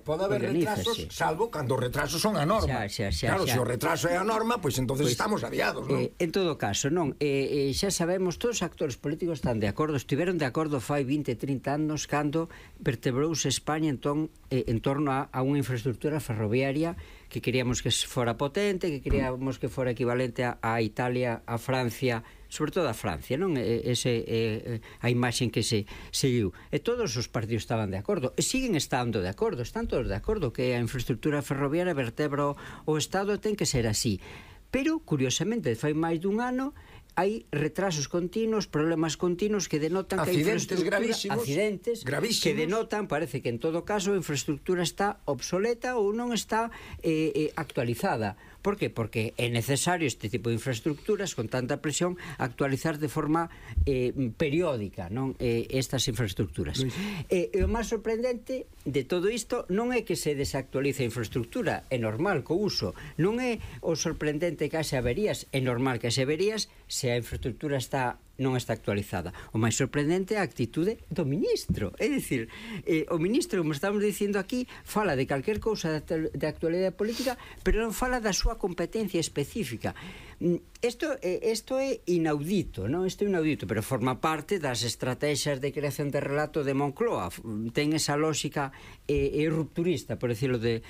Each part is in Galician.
pode haber retrasos, salvo cando os retrasos son a norma. Claro, se o retraso é a norma, pois entonces estamos aviados, non? En todo caso, non, xa sabemos, todos os actores políticos están de acordo, estiveron de acordo fai 20, 30 anos cando vertebrouse España en torno a unha infraestructura ferroviaria que queríamos que fora potente, que queríamos que fora equivalente a Italia, a Francia, sobre todo a Francia, non? A imaxen que se seguiu. E todos os partidos estaban de acordo, e siguen estando de acordo, están todos de acordo que a infraestructura ferroviaria vertebra o Estado, ten que ser así. Pero, curiosamente, fai máis dun ano, hai retrasos continuos, problemas continuos que denotan que a infraestructura... Accidentes gravísimos, que denotan, parece que en todo caso a infraestructura está obsoleta ou non está actualizada. Por que? Porque é necesario este tipo de infraestructuras con tanta presión actualizar de forma periódica, non, estas infraestructuras. E o máis sorprendente de todo isto non é que se desactualice a infraestructura, é normal co uso, non é o sorprendente que haxe averías, é normal que haxe averías se a infraestructura non está actualizada. O máis sorprendente é a actitude do ministro. É dicir, o ministro, como estamos dicindo aquí, fala de calquer cousa de actualidade política, pero non fala da súa competencia específica. Isto é inaudito, non? Isto é inaudito, pero forma parte das estrategias de creación de relato de Moncloa. Ten esa lógica rupturista, por decirlo de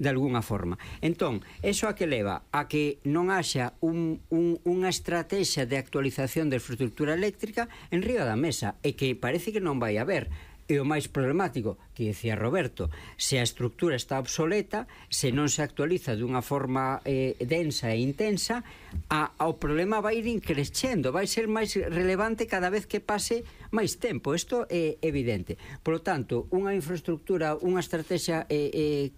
alguna forma. Entón, eso a que leva? A que non haxa unha estrategia de actualización de infraestructura eléctrica en riba da mesa, e que parece que non vai haber. E o máis problemático, que dicía Roberto, se a estructura está obsoleta, se non se actualiza dunha forma densa e intensa, o problema vai ir increchendo, vai ser máis relevante cada vez que pase máis tempo. Isto é evidente. Por lo tanto, unha infraestructura, unha estrategia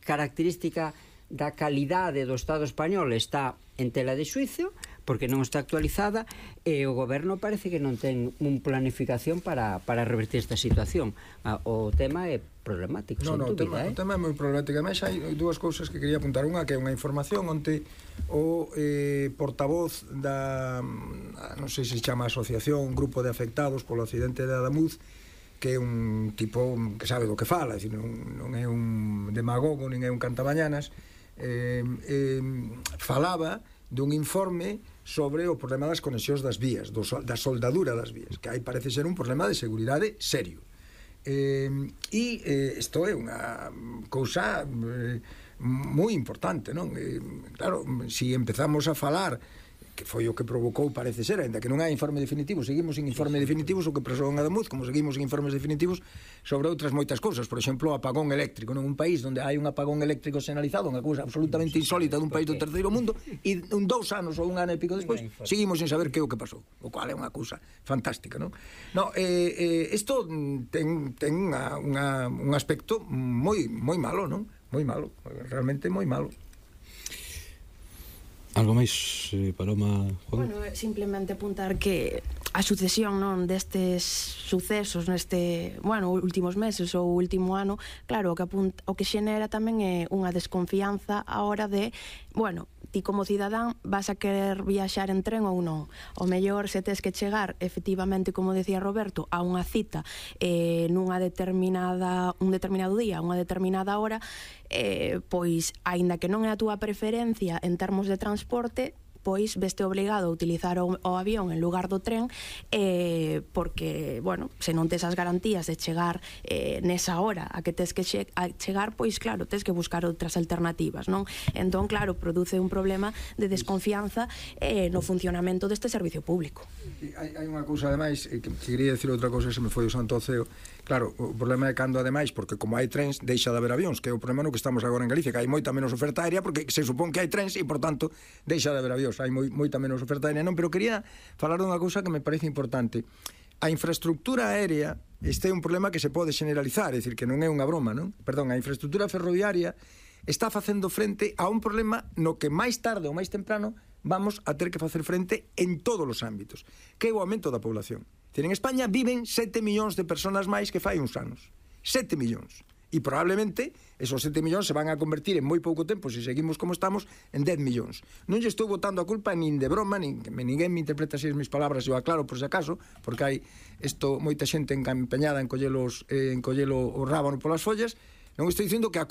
característica da calidade do Estado español está en tela de xuicio, porque non está actualizada, e o goberno parece que non ten unha planificación para revertir esta situación. O tema é problemático, sen dúbida. O tema é moi problemático. Ademais, hai dúas cousas que quería apuntar. Unha que é unha información onde o portavoz da, non sei se chama asociación, un grupo de afectados polo accidente de Adamuz, que é un tipo que sabe do que fala, non é un demagogo, nin é un cantabañanas, falaba dun informe sobre o problema das conexións das vías, da soldadura das vías, que aí parece ser un problema de seguridade serio. Isto é unha cousa moi importante, non? Claro, se empezamos a falar, que foi o que provocou, parece ser, ainda que non hai informe definitivo, seguimos sin informe definitivo, o que pasou en Adamuz, como seguimos sin informes definitivos sobre outras moitas cousas, por exemplo, o apagón eléctrico, non? Un país onde hai un apagón eléctrico sinalizado, unha cousa absolutamente insólita dun país do terceiro mundo, e 2 anos ou 1 ano e pico despois seguimos sin saber que é o que pasou, o cual é unha cousa fantástica, non? Isto ten un aspecto moi malo, non? Moi malo, realmente moi malo. Algo máis, Paloma, Juan? Bueno, simplemente apuntar que a sucesión, non, destes sucesos neste, últimos meses ou último ano, claro, o que xenera tamén é unha desconfianza a hora de, ti como cidadán vas a querer viaxar en tren ou non. O mellor, se tes que chegar, efectivamente, como decía Roberto, a unha cita un determinado día, unha determinada hora, pois, aínda que non é a túa preferencia en termos de transporte, pois veste obrigado a utilizar o avión en lugar do tren, porque, se non tes as garantías de chegar nesa hora a que tes que chegar, pois claro, tes que buscar outras alternativas, non? Entón, claro, produce un problema de desconfianza no funcionamento deste servicio público. Hai unha cousa, ademais, que quería decir outra cousa, se me foi o santo ao ceo. Claro, o problema é cando, ademais, porque como hai trens, deixa de haber avións, que é o problema no que estamos agora en Galicia, que hai moita menos oferta aérea, porque se supón que hai trens e, por tanto, deixa de haber avións. Hai moita menos oferta aérea, non? Pero quería falar dunha cousa que me parece importante. A infraestructura aérea, este é un problema que se pode generalizar, é dicir, que non é unha broma, non? Perdón, a infraestructura ferroviaria está facendo frente a un problema no que máis tarde ou máis temprano vamos a ter que facer frente en todos os ámbitos, que é o aumento da población. En España viven 7 millóns de personas máis que fai uns anos. 7 millóns. E probablemente esos 7 millóns se van a convertir en moi pouco tempo, se seguimos como estamos, en 10 millóns. Non lle estou botando a culpa nin de broma, nin que ninguén me interpreta así as mis palabras, eu aclaro por se acaso, porque hai moita xente empeñada en collelo o rábano polas follas. Non estou dicindo que a culpa